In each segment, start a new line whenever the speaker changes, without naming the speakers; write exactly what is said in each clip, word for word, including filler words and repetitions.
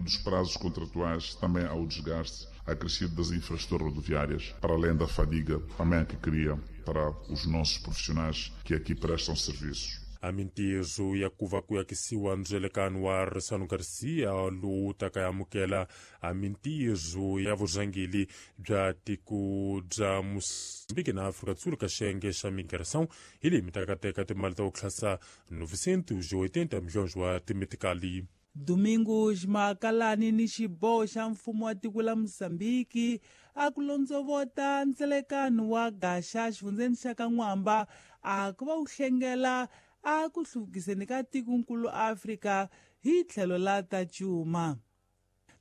dos prazos contratuais, também há o desgaste acrescido das infraestruturas rodoviárias, para além da fadiga também que cria para os nossos profissionais que aqui prestam serviços.
A mintirho ya kuva ku yakisiwa ndzelekano wa Ressano Garcia lowu taka ya amukela a mintirho ya vurhangeri bya tiko bya Moçambique na África do Sul ka xiyenge xa migração hi leyi mi taka teka timali ta ku tlhasa novecentos e oitenta milhões wa timetikali.
Domingos Makalani ni xiboho xa mfumo wa tiko la Mozambique a ku londzovota ndzelekano wa gaxa xifundzeni xa ka N'wamba a ku va wu hlengela a ku hluvukiseni ka tikonkulu Afrika hi tlhelo la ta cuma.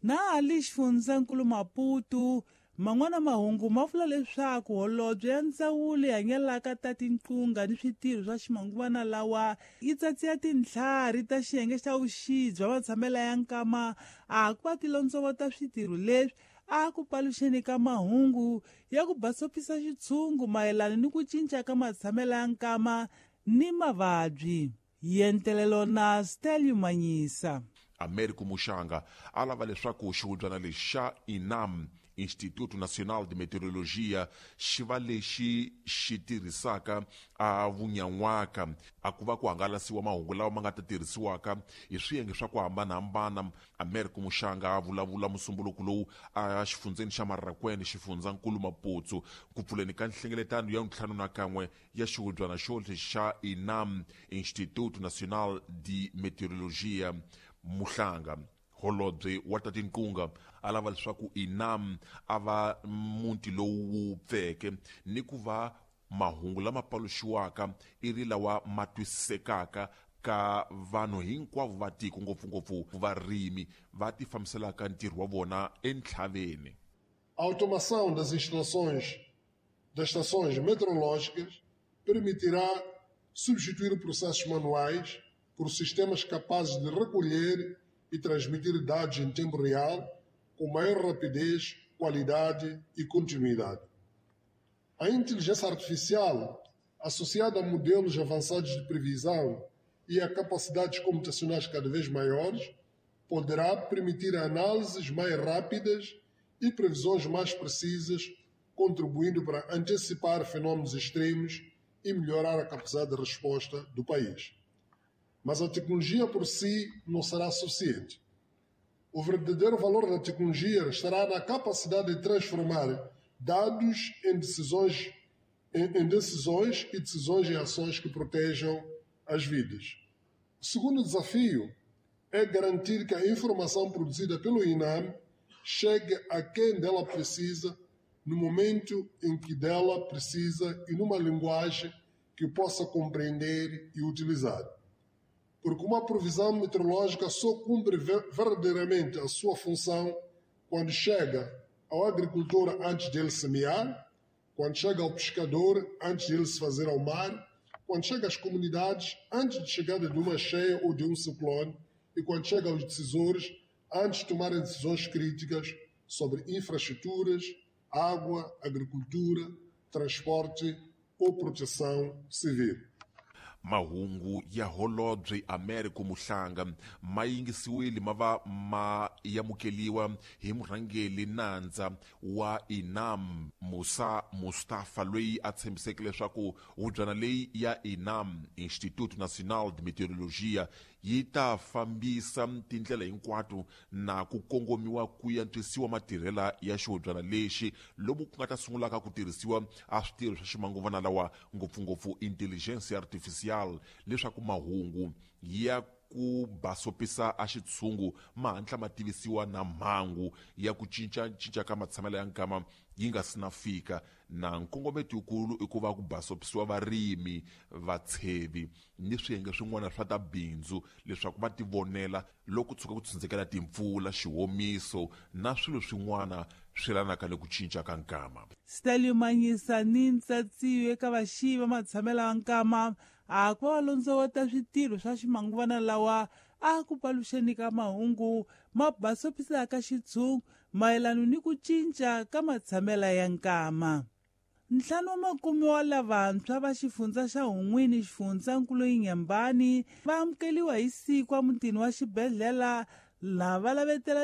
Na ali xifundzankulu Maputo man'wana mahungu ma vula leswaku holobye ya ndzawulo hanyelaka ta tinqunga ni switirho swa ximanguvana lawa yi tsatsiya tintlhari ta xiyenge xa vuxi bya matshamela ya nkama a ku va ti londzovota switirho leswi a ku paluxeni ka mahungu ya ku basopisa xitshungu mayelana ni ku cinca ka matshamela ya nkama ni mavabyi. Yentelelo na Stelio Manyisa.
Américo Muxanga a lava leswaku xihubyana lexi xa INAM, Instituto Nacional de Meteorologia, xi va lexi xi tirhisaka a vunyan'waka a ku va ku hangalasiwa mahungu lawa ma nga ta tirhisiwaka hi swiyenge swa ku hambanahambana. Américo Muxanga a vulavula musumbuluko lowu a xifundzeni xa Marrakwene, xifundzankulu Maputo, ku pfuleni ka nhlengeletano ya ntlhanu na kan'we ya xihubyana xo xa INAM, Instituto Nacional de Meteorologia. Muhlanga holobye wa ta tinqunga a lava leswaku INAM a va muti lowu wu pfeke ni ku va mahungu lama paluxiwaka i ri lawa ma twisisekaka ka vanhu hinkwavo va tiko, ngopfungopfu varimi va ti fambiselaka ntirho wa vona entlhaveni.
A automação das instalações das estações meteorológicas permitirá substituir processos manuais por sistemas capazes de recolher e transmitir dados em tempo real, com maior rapidez, qualidade e continuidade. A inteligência artificial, associada a modelos avançados de previsão e a capacidades computacionais cada vez maiores, poderá permitir análises mais rápidas e previsões mais precisas, contribuindo para antecipar fenômenos extremos e melhorar a capacidade de resposta do país. Mas a tecnologia por si não será suficiente. O verdadeiro valor da tecnologia estará na capacidade de transformar dados em decisões, em, em decisões e decisões em ações que protejam as vidas. O segundo desafio é garantir que a informação produzida pelo INAM chegue a quem dela precisa, no momento em que dela precisa e numa linguagem que possa compreender e utilizar. Porque uma previsão meteorológica só cumpre verdadeiramente a sua função quando chega ao agricultor antes dele semear, quando chega ao pescador antes dele se fazer ao mar, quando chega às comunidades antes de chegada de uma cheia ou de um ciclone e quando chega aos decisores antes de tomarem decisões críticas sobre infraestruturas, água, agricultura, transporte ou proteção civil.
Mahungu ya holobye Américo Muhlanga ma yingisiwile ma va ma yamukeliwa hi murhangeri nandza wa INAM Musa Mustafa, loyi a tshembiseke leswaku hubyana leyi ya INAM, Instituto Nacional de Meteorologia, yi ta fambisa tindlela hinkwato na ku kongomiwa ku antswisiwa matirhela ya xihubyana lexi lomu ku nga ta sungulaka ku tirhisiwa a switirho swa ximanguvana lawa, ngopfungopfu intelligence artificial, leswaku mahungu ya ku basopisa a xitshungu ma hatla ma tivisiwa na mhangu ya ku cinca cinca ka matshamelo ya nkama yi nga si na fika. Na nkongometo wukulu i ku va ku basopisiwa varimi, vatshevi ni swiyenge swin'wana swa ta bindzu leswaku va tivonela loko tshuka ku tshundzekela timpfula, xihomiso na swilo swin'wana swi yelanaka le ku cinca ka nkama.
Stelio Manyisa ni ntsatsiyo eka vaxivi va matshamelo ya nkama a ku va londzovota switirho swa ximanguvana lawa a ku paluxeni ka mahungu ma basopisaka xitshungu mayelana ni ku cinca ka matshamela ya nkama. Ntlhanu wa makume wa lavantshwa va xifundza xa Hun'wini, xifundzankulu Inhambane, va amukeliwa hi siku emutini wa xibedhlele laha va lavetela